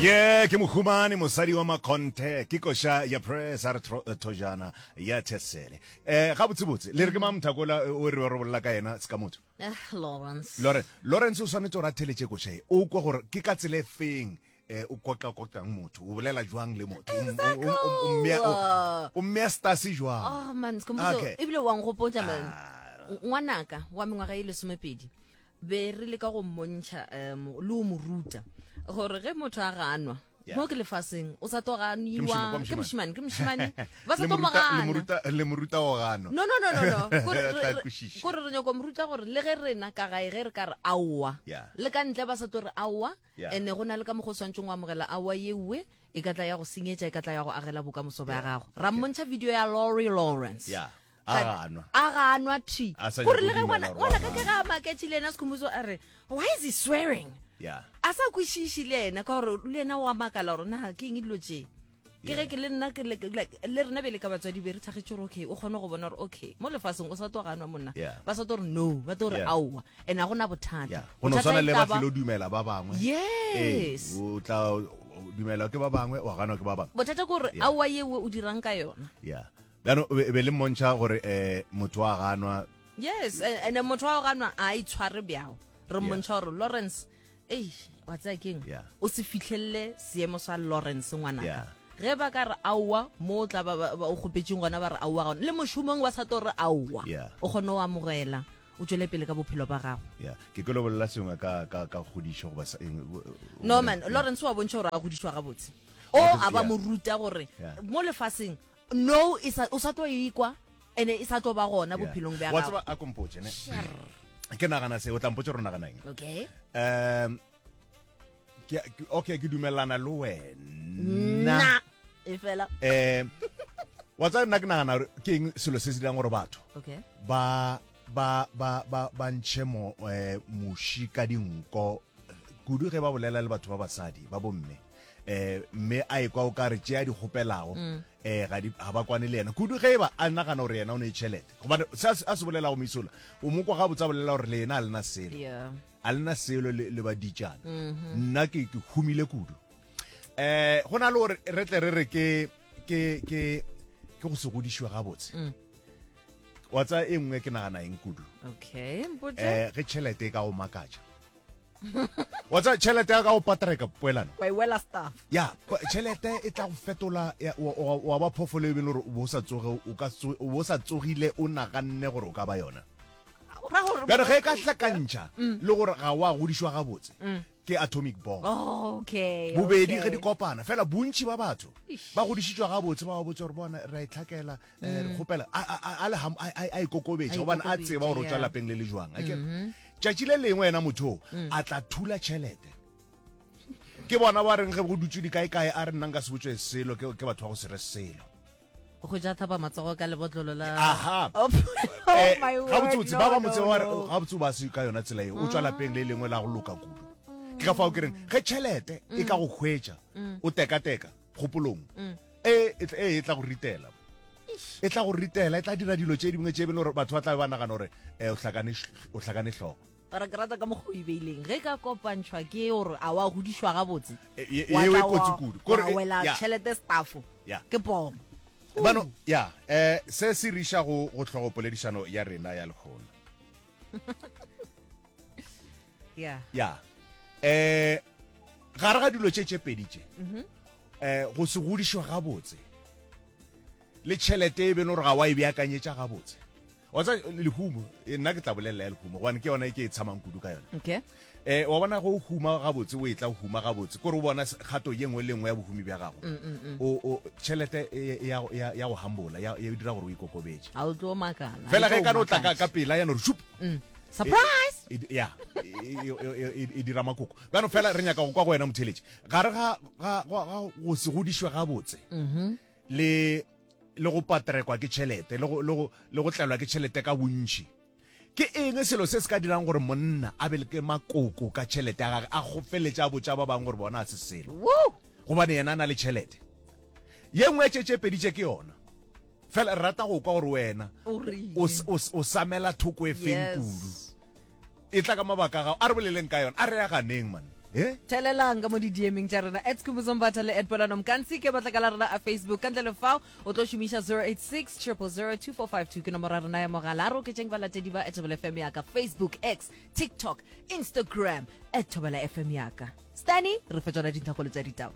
Ye ke mohumane mosadi wa makgonthe ke koša ya press a re eh, thojana ya thesele eh gabotsebotse le re ke mang mothakola eh, o re re bolela ka yena se ka motho Eh, Lawrence. Lawrence Lawrence o swanetše gore a theletše koša e o kwe gore ke ka tsela e feng eh o koka kokang motho o bolela jwang le motho Exactly. o mmea stase jwang Oh man, Skhumbuzo, Okay. ebile wa nkgopotša man. Ah. Ngwanaka wa mengwaga e lesomepedi be re leka go mmontšha um le o mo ruta gore ge motho a ganwa Yeah. mo ke lefaseng o sa tlo Ke mošemane, ganiwa kwa ke mošemane. mošemane ke mošemane ba sa Le tlo mo mo ruta- le gana mo ruta- le mo ruta go ganwa no no no no no Kore re- Tla re- kwešiša. kore re nyako mo ruta gore le ge rena ka gae ge re ka re aowa Yeah. le ka ntle ba sa tlo re aowa Yeah. ene go na le ka mokgwa o swantšeng go amogela aowa yeue e ka tla ya go senyetša e ka tla ya go agela bokamoso bja gago ra mmontšha video ya Lori Lawrence Yeah. A ganwa. A ganwa thwi. A sa Gore nyake le ge go ngwana dumela gore ngwana wa ka ke ganwa. ga a maketše le yena Skhumbuzo a re why is he swearing? Yeah. A sa kwešiše le yena ka gore le yena o a makala gore na ke eng dilo tše. Ke ge ke le nna ke le like, le rena bjale ka batswadi be re thakgetše gore okay o kgone go bona gore okay mo lefaseng o sa tlo ganwa monna. Yeah. Ba sa tlo re no, ba tlo re Yeah. aowa. And a gona bothata. Yeah. Go no Bothata swana e le tla ba ba- tlilo dumela ba bangwe. Yes. Ee, o tla o dumela ke ba bangwe wa ganwa ke ba bangwe. Bothata ke gore Yeah. aowa yewe o dirang ka yona. Yeah. Bjano be be le mmontšha gore eh motho wa ganwa. Yes, and motho wa ganwa a itshware bjao. Re mmontšha gore Lawrence, ei, wa tsaya keng? Yeah. O se fihlelle seemo sa Lawrence ngwanaka. Yeah. Ge ba ka re aowa mo o tla ba ba- ba o kgopetšeng gona ba re aowa gona. Le mošomong ba sa tlo re aowa. Yeah. O kgone go amogela, o tšwele pele ka bophelo ba gago. Yeah. Ke ke lo bolela sengwe ka ka ka kgodišo goba sa eng. o- o- No man, Yeah. Lawrence wa bontšha gore a godišwa gabotse. O a ba Yeah. mo ruta gore Yeah. mo lefaseng no e sa o sa tlo ikwa ene e sa tlo ba gona bophelong bja wa gago tseba a kompotše ne ke nagana se o tla mpotša gore o nagana eng okay um ke okay ke dumelana le wena na e fela um wa tseba nna ke nagana gore ke eng selo se se dirang gore batho okay ba ba ba ba ba ntšhe mo eh, muši ka dinko kudu ge ba bolela le batho ba basadi ba bomme eh mme a ekwa o ka re tše a di kgopelago mm. eh ga di ga ba kwane le yena kudu ge e ba a nagana gore yena o ne tšhelete gobane se a se bolelago moisola o mo kwa gabotse a bolela gore le yena a lena selo a lena selo le ba ditšana mm-hmm. nna ke ke humile kudu eh go na le gore re tle re re ke ke ke ke go se godišwe gabotse mm. wa tsaya e nngwe ke nagana eng kudu okay eh ge tšhelete e ka go makatša wa tsaya tšhelete ya ka go patreka poelano wa e wela staff ya tšhelete e tla go fetola wa ba phoofolo e beng gore o bo sa tsoge o ka o bo sa tsogile o naganne gore o ka ba yona bjale ge e ka hlakantšha mm. le gore ga wa godišwa gabotse mm. ke atomic bomb oh, okay bobedi ge di kopana fela bontši ba batho ba godišitšwa gabotse ba ba botse gore bona ra e tlhakela eh, re mm. kgopela a ikokobetše gobane a tseba gore o tswa lapeng le le jwang akere mm-hmm. Tšatši le lengwe yena motho mm. a tla thula tšhelete. Ke bona ba reng ge go dutše dikaekae a re nna nka se botšwe selo ke ke batho ba go se re selo. Go ja thapa matsogo ka lebotlolo la Aha. Oh, oh eh, my word. Gabotsebotse ba ba no, motse ba re no. gabotse ba se ka yona tsela eo o tswa lapeng le lengwe la go loka kudu. Ke ka fao ke reng ge tšhelete e ka go hwetša o tekateka kgopolong e e tla- e e tla go ritela. E tla go ritela e tla dira dilo tše dingwe tše e beng gore batho ba tla be ba nagana gore eh, o hlakane o hlakane hlogo. Ora ke rata ka mokgwa o e beileng ge ka kopantšhwa ke gore a wa godišwa gabotse E- e- wa yeo e tla kotsi wa- kudu. Kore wa e- wela ya. tšhelete staffo Ya. ke pomo Bano ya eh se se riša go go hlogo poledišano ya rena ya lehono. ya Ya. Eh gare ga dilo tše tše pedi tše. Eh go se godišwe gabotse le tšhelete e beno gore ga wa e beakanyetša gabotse. Wa tseba lehumo, eh, nna ke tla bolelela ya lehumo gobane ke yona e ke e tshamang kudu ka yona. okay Eh wa bona go huma gabotse o etla o huma gabotse kore o bona kgato ye nngwe le nngwe ya bohumi bja gago. O o tšhelete e- e ya ya ya go humble ya e dira gore o ikokobetše. ga o tlo makala Fela e ge tlo e ka no tla ka makatša. ka pela ya no re shup. surprise E, e, ya e, e, e, e, e dira makoko. Bjano fela re nyaka go kwa go wena motheletši. Gare ga ga ga ga go se godišwe gabotse. Le le go patrekwa ke tšhelete le go le go le go tlelwa ke tšhelete ka bontši. Ke eng selo se se ka dirang gore monna a be le ke makoko ka tšhelete ya gage a gofeletše a botša ba bangwe gore bona a se selo Woo! gobane yena a na le tšhelete? Ye nngwe ya tše tše pedi tše ke yona. Fela re rata go kwa gore wena O reng? o, o, o samela thoko e feng Yes. kudu. E tla ka mabaka a gago. A re boleleng ka yona. A re aganeng man. Eh? Thelelang ka mo di-DMing tša rena at Skhumbuzo Mbatha le at Polano Mkansi ke matlakala a rena a Facebook. Ka ntle le fao o tlo šomiša 086 000 2452 ke nomoro ya rena ya mogala. A re oketšeng balatedi ba at Thobela FM ya ka Facebook, X, TikTok, Instagram at Thobela FM ya ka. Stani, re fe tšona dintlhakgolo tša ditaba.